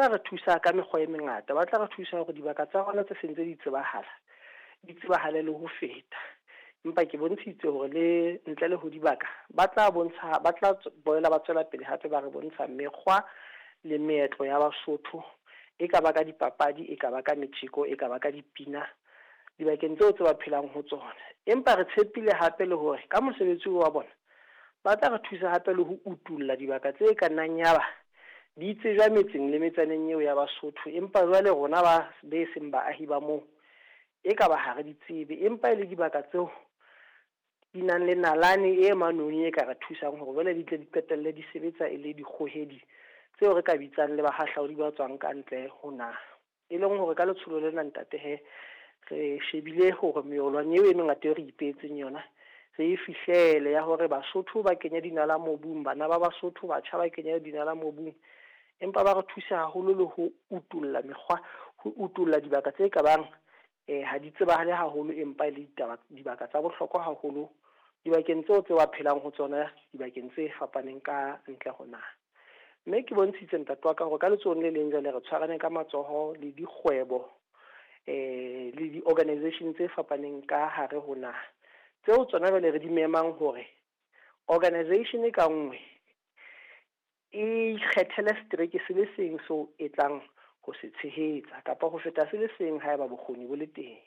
Ba tla re thusa ka mekgwa e mengata, ba tla re thusa hore dibaka tsa rona tse seng tse di tsebahala, di tsebahale le ho feta. Empa ke bontshitse hore le ntle le ho dibaka, ba tla bontsha, ba tla boela ba tswela pele hape ba re bontsha mekgwa le meetlo ya Basotho, e ka ba ka dipapadi, e ka ba ka metjeko, e ka ba ka dipina dibakeng tseo tse ba phelang ho tsona. Empa re tshepile hape le hore ka mosebetsi wa bona, ba tla re thusa hape le ho utulla dibaka tse ka nnang yaba di tsejwa metseng le metsaneng eo ya Basotho, empa jwale rona ba be seng baahi ba moo e ka ba ha re di tsebe, empa e le dibaka tseo di nang le nalane e manoni e ka re thusang hore jwale di tle di qetelle di sebetsa e le dikgohedi tseo re ka bitsang le bahahlaodi ba tswang ka ntle ho naha. E leng hore ka letsholo lena ntate he, re shebile hore meolwane eo e mengata eo re ipehetseng yona re e fihlele, ya hore Basotho ba kenye dinala mobung, bana ba Basotho batjha ba kenye dinala mobung, empa ba re thusa haholo le ho utulla mekgwa, ho utulla dibaka tse ka bang ha di tsebahale haholo, empa e le ditaba dibaka tsa bohlokwa haholo dibakeng tseo tse ba phelang ho tsona, dibakeng tse fapaneng ka ntle ho naha. Mme ke bontshitse ntate wa ka hore ka letsohong le leng jwale re tshwarane ka matsoho le dikgwebo le di-organisation tse fapaneng ka hare ho naha, tseo tsona jwale re di memang hore organisation ka nngwe e ikgethele setereke se le seng seo e tlang ho se tshehetsa, kapa ho feta se le seng haeba bokgoni bo le teng.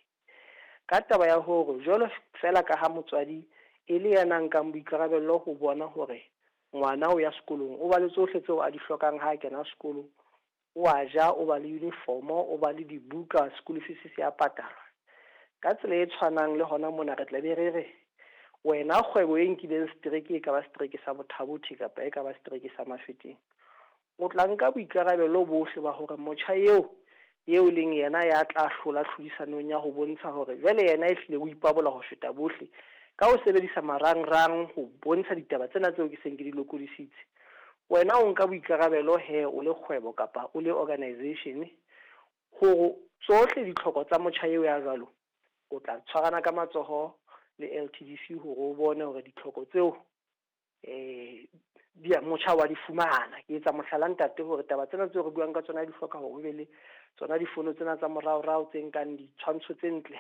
Ka taba ya hore jwalo feela ka ha motswadi e le ya nkang boikarabello ho bona hore ngwana o ya sekolong, o ba le tsohle tseo a di hlokang ha a kena sekolo, o a ja, o ba le uniform-o, o ba le dibuka, school fees se ya patalwa. Ka tsela e tshwanang le hona mona re tla be re re wena kgwebo e nkileng setereke, e ka ba setereke sa Botha-Bothe kapa e ka ba setereke sa Mafeteng, o tla nka boikarabelo bohle ba hore motjha eo eo leng yena ya tla hlola tlhodisanong ya ho bontsha hore jwale yena e hlile o ipabola ho feta bohle ka ho sebedisa marangrang ho bontsha ditaba tsena tseo ke seng ke di lokodisitse. Wena o nka boikarabelo he o le kgwebo kapa o le organisation hore tsohle ditlhoko tsa motjha eo ya jwalo, o tla tshwarana ka matsoho le LTDC hore o bone hore ditlhoko tseo di motjha wa di fumana. Ke etsa mohlala ntate hore taba tsena tseo re buang ka tsona di hloka hore o be le tsona difono tsena tsa moraorao tse nkang ditshwantsho tse ntle,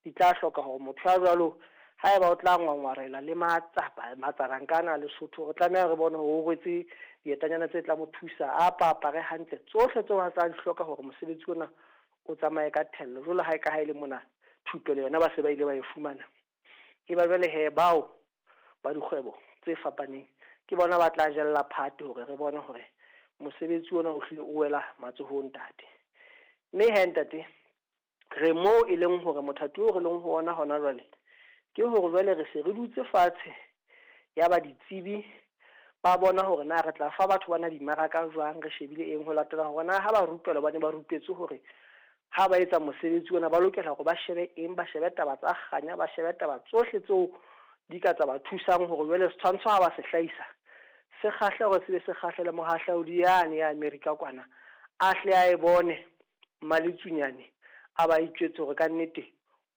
di tla hloka hore motho ya jwalo haeba o tla ngwangwarela le matsapa matsarankana a Lesotho, re tlameha re bone hore o rwetse dietanyana tse tla mo thusa, a apare hantle, tsohle tseo a tla di hloka hore mosebetsi ona o tsamaye ka thello. Jwalo ha e ka ha e le mona thupelo yona ba se ba ile ba e fumana, e ba jwale he bao ba dikgwebo tse fapaneng ke bona ba tla jella phate hore re bone hore mosebetsi ona o hlile o wela matsohong ntate. Mme he ntate, re moo e leng hore mothati oo re leng ho ona hona jwale ke hore jwale re se re dutse fatshe ya ba ditsebi ba bona hore na re tla fa batho bana dimaraka jwang, re shebile eng ho latela hore na ha ba rupelwa ba ne ba rupetswe hore ha ba etsa mosebetsi ona ba lokela hore ba shebe eng, ba shebe taba tsa kganya, ba shebe taba tsohle tseo di ka tsa ba thusang hore jwale setshwantsho ha ba se hlahisa se kgahle, hore se be se kgahle le mohahlaudi yane ya America kwana, a hle a e bone Mmaletsunyane, a ba itjwetse hore ka nnete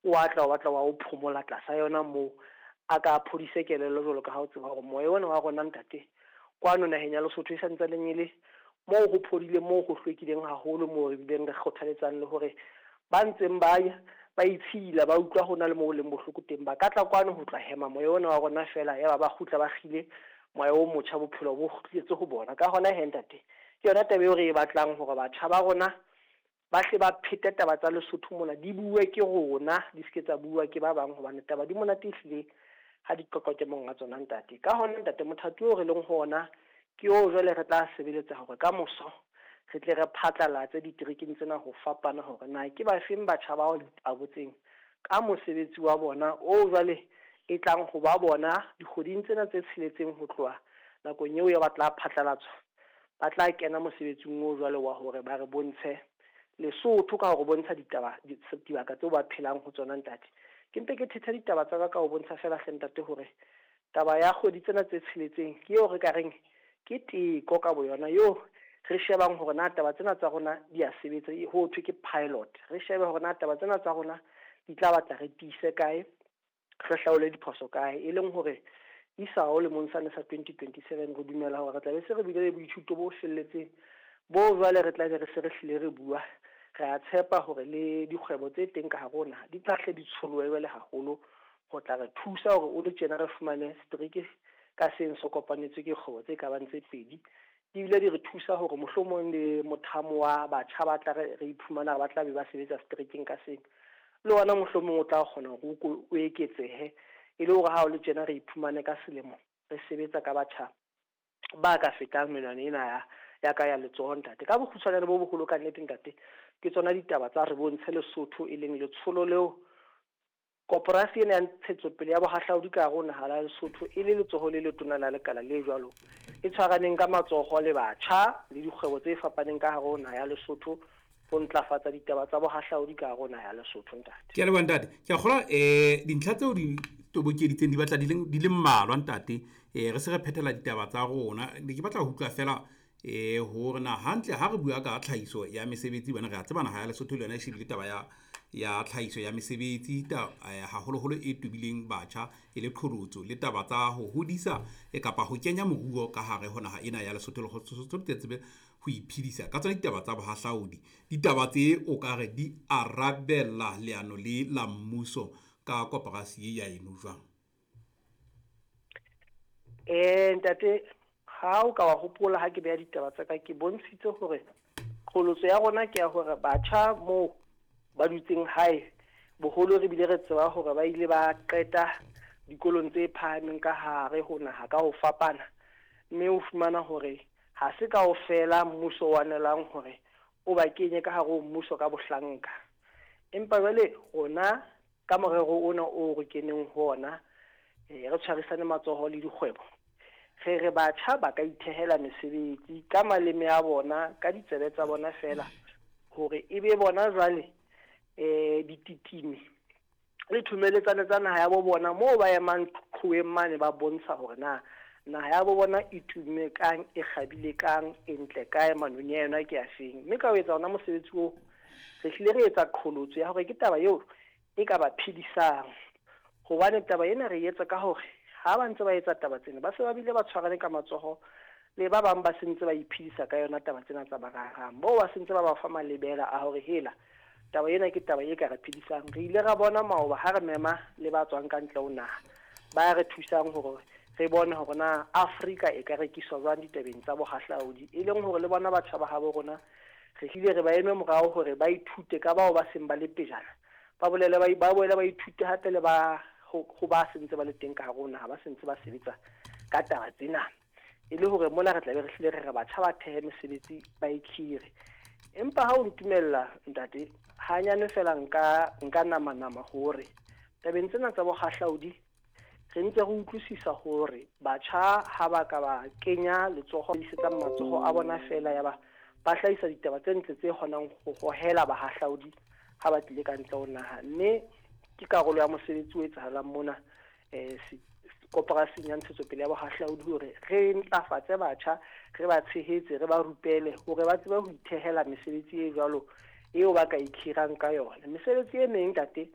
o atla o batla wa o phomola tlasa yona moo, a ka phodise kelello jwalo ka ha o tseba hore moya ona wa rona ntate kwano naheng ya Lesotho e santsaneng e le moo ho phodileng, moo ho hlwekileng haholo, moo re bileng re kgothaletsang le hore ba ntseng ba ya ba itshila ba utlwa ho na le moo leng bohloko teng, ba ka tla kwano ho tla hema moya ona wa rona fela, yaba ba kgutla ba kgile moya o motjha, bophelo bo kgutletse ho bona. Ka hona he ntate, ke yona taba eo re e batlang hore batjha ba rona ba hle ba phete taba tsa Lesotho mona, di bue ke rona, di seke tsa bua ke ba bang, hobane taba di monate ehlile ha di qoqwa ke monga tsona ntate. Ka hona ntate, mothati oo re leng ho ona ke oo jwale re tla sebeletsa hore ka moso re tle re phatlalatse diterekeng tsena ho fapana hore na ke ba feng batjha bao ipabotseng ka mosebetsi wa bona oo jwale e tlang ho ba bona dikgweding tsena tse tsheletseng ho tloha nakong eo ya ba tla phatlalatswa, ba tla kena mosebetsing oo jwale wa hore ba re bontshe Lesotho ka hore bontsha ditaba dibaka tseo ba phelang ho tsona ntate. Ke mpe ke thethe ditaba tsa ka ka ho bontsha feela hle ntate hore taba ya kgwedi tsena tse tsheletseng ke eo re ka reng ke teko ka boyona eo re shebang hore na taba tsena tsa rona di a sebetsa, ho thwe ke pilot. Re shebe hore na taba tsena tsa rona di tla batla re tiise kae, re hlaole diphoso kae, e leng hore isao lemong sane sa 2027 re dumela hore re tla be se re bile le boithuto bo felletseng Boo jwale re tla be re se re hlile re bua, re a tshepa hore le dikgwebo tse teng ka hare ho naha di tla hle di tsholohe jwale haholo ho tla re thusa hore o le tjena re fumane setereke ka seng se kopanetswe ke kgwebo tse ka bang tse pedi. Ebile di re thusa hore mohlomong le mothamo wa batjha ba tla re iphumana ba tla be ba sebetsa seterekeng ka seng, le ona mohlomong o tla kgona hore o eketsehe, e le hore ha o le tjena re iphumane ka selemo re sebetsa ka batjha ba ka fetang menwana ena ya ka ya letsoho, ntate. Ka bokgutshwanyane bo boholo ka nnete, ntate, ke tsona ditaba tsa Re Bontshe Lesotho, e leng letsholo leo koporasi ena ya ntshetsopele ya bohahlaudi ka hare ho naha la Lesotho e le letsoho le letona la lekala le jwalo e tshwaraneng ka matsoho le batjha le dikgwebo tse fapaneng ka hare ho naha ya Lesotho ho ntlafatsa ditaba tsa bohahlaudi ka hare ho naha ya Lesotho, ntate. Ke a leboha, ntate. Ke a kgolwa dintlha tseo di tobokeditseng di batla di le mmalwa, ntate. Re se re phethela ditaba tsa rona. Ne ke batla ho utlwa fela hore na hantle ha re bua ka tlhahiso ya mesebetsi, bana re a tseba naha ya Lesotho le yona e shebile taba ya tlhahiso ya mesebetsi, haholoholo e tobileng batjha e le qholotso, le taba tsa ho hodisa kapa ho kenya moruo ka hare ho naha ena ya Lesotho, le Lesotho le tsebe ho iphedisa ka tsona ditaba tsa bohahlaudi. Ditaba tse o ka re di arabella leano le la mmuso ka koporasi e ya eno jwang? Ntate, ha o ka wa hopola ha ke beha ditaba tsa ka, ke bontshitse hore qholotso ya rona ke ya hore batjha moo ba dutseng hae boholo re bile re tseba hore ba ile ba qeta dikolong tse phahameng ka hare ho naha ka ho fapana, mme o fumana hore ha se kaofela mmuso o anelang hore o ba kenye ka hare ho mmuso ka bohlanka. Empa jwale rona ka morero ona o re keneng ho ona, re tshwarisane matsoho le dikgwebo, re re batjha ba ka ithehela mesebetsi ka maleme a bona, ka ditsebe tsa bona fela, hore e be bona jwale dititimi le thomeletsane tsa naha ya bo bona moo ba emang qhoweng mane, ba bontsha hore na naha ya bo bona e tumme kang, e kgabile kang, e ntle kae, manoni a yona ke a feng. Mme ka ho etsa ona mosebetsi oo, re hlile re etsa qholotso ya hore ke taba eo e ka ba phedisang, hobane taba ena re etsa ka hore ha ba ntse ba etsa taba tsena, ba se ba bile ba tshwarane ka matsoho le ba bang ba sentse ba iphedisa ka yona taba tsena tsa marangrang, moo ba sentse ba ba fa malebela a hore hela taba ena ke taba e ka re phedisang. Re ile ra bona maoba ha re mema le ba tswang ka ntle ho naha ba re thusang hore re bone hore na Afrika e ka rekiswa jwang ditabeng tsa bohahlaudi, e leng hore le bona batjha ba habo rona re hlile re ba eme morao hore ba ithute ka bao ba seng ba le pejana, ba bolele ba boele ba ithute hape le ba ho ba sentse ba le teng ka hare ho naha, ba sentse ba sebetsa ka taba tsena, e le hore mona re tla be re hlile re re batjha ba thehe mesebetsi ba ikhire. Empa ha o ntumella, ntate, hanyane fela nka nama hore tabeng tsena tsa bohahlaudi re ntse re utlwisisa hore batjha ha ba ka ba kenya letsoho, isetsang matsoho a bona fela, ya ba ba hlahisa ditaba tse ntle tse kgonang ho hohela bahahlaudi ha ba tlile ka ntle ho naha. Mme ke karolo ya mosebetsi o etsahalang mona koporasing ya ntshetsopele ya bohahlaudi hore re ntlafatse batjha, re ba tshehetse, re ba rupele hore ba tsebe ho ithehela mesebetsi e jwalo eo ba ka ikhirang ka yona. Mesebetsi e meng, ntate,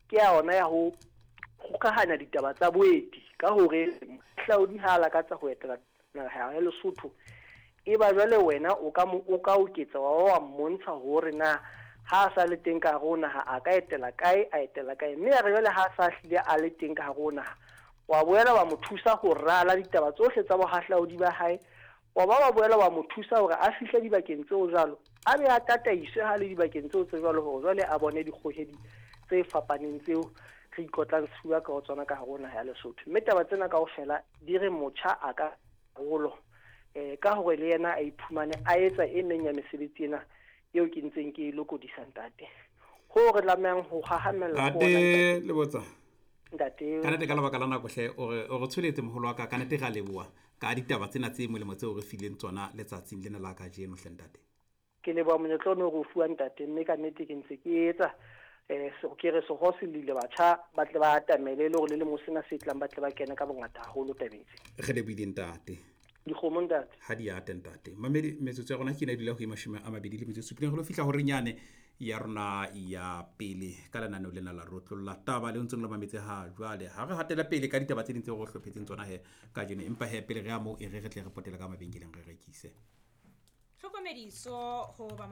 ke ya ona ya ho kgokahanya ditaba tsa boeti, ka hore mohahlaudi ha a lakatsa ho etela naha ya Lesotho, e ba jwale wena o ka oketsa wa mmontsha hore na ha a sa le teng ka hare ho naha a ka etela kae, a etela kae. Mme ya re jwale ha a sa hlile a le teng ka hare ho naha, wa boela wa mo thusa ho rala ditaba tsohle tsa bohahlaudi ba hae, wa ba wa boela wa mo thusa hore a fihle dibakeng tseo jwalo, a be a tataiswe ha le dibakeng tseo tse jwalo, hore jwale a bone dikgohedi tse fapaneng tseo re ikotlang sefuba ka ho tsona ka hare ho naha ya Lesotho. Mme taba tsena kaofela di re motjha a ka holo ka hore le yena a iphumane a etsa e meng ya mesebetsi ena eo ke ntseng ke e lokodisa, ntate. Ho re tlamehang ho hahamella ntate Lebotsa, ntate, ka nnete ka lebaka la nako hle o re tsholetse moholo wa ka, ka nnete ra leboha ka ditaba tsena tse molemo tseo re fileng tsona letsatsing lena la kajeno hle, ntate. Ke leboha monyetla ono re o fuwa, ntate, mme ka nnete ke ntse ke etsa ke re seho se lile batjha ba tle ba atamele, le hore le lemo sena se tlang ba tle ba kene ka bongata haholo tabeng tse. Re lebohile, ntate. Dikgomo, ntate. Ha di ate, ntate. Mamedi, metsotso ya rona ke ena e dula ho 27 re lo fihla hore nyane ya rona ya pele ka lenaneo lena la Rotlolla Taba le ntseng le mametse ha jwale. Ha re hatela pele ka ditaba tse ding tseo re hlophetseng tsona he kajeno, empa he pele re ya moo e re re tle re potele ka mabenkeleng re rekise. Tlhokomediso ho ba.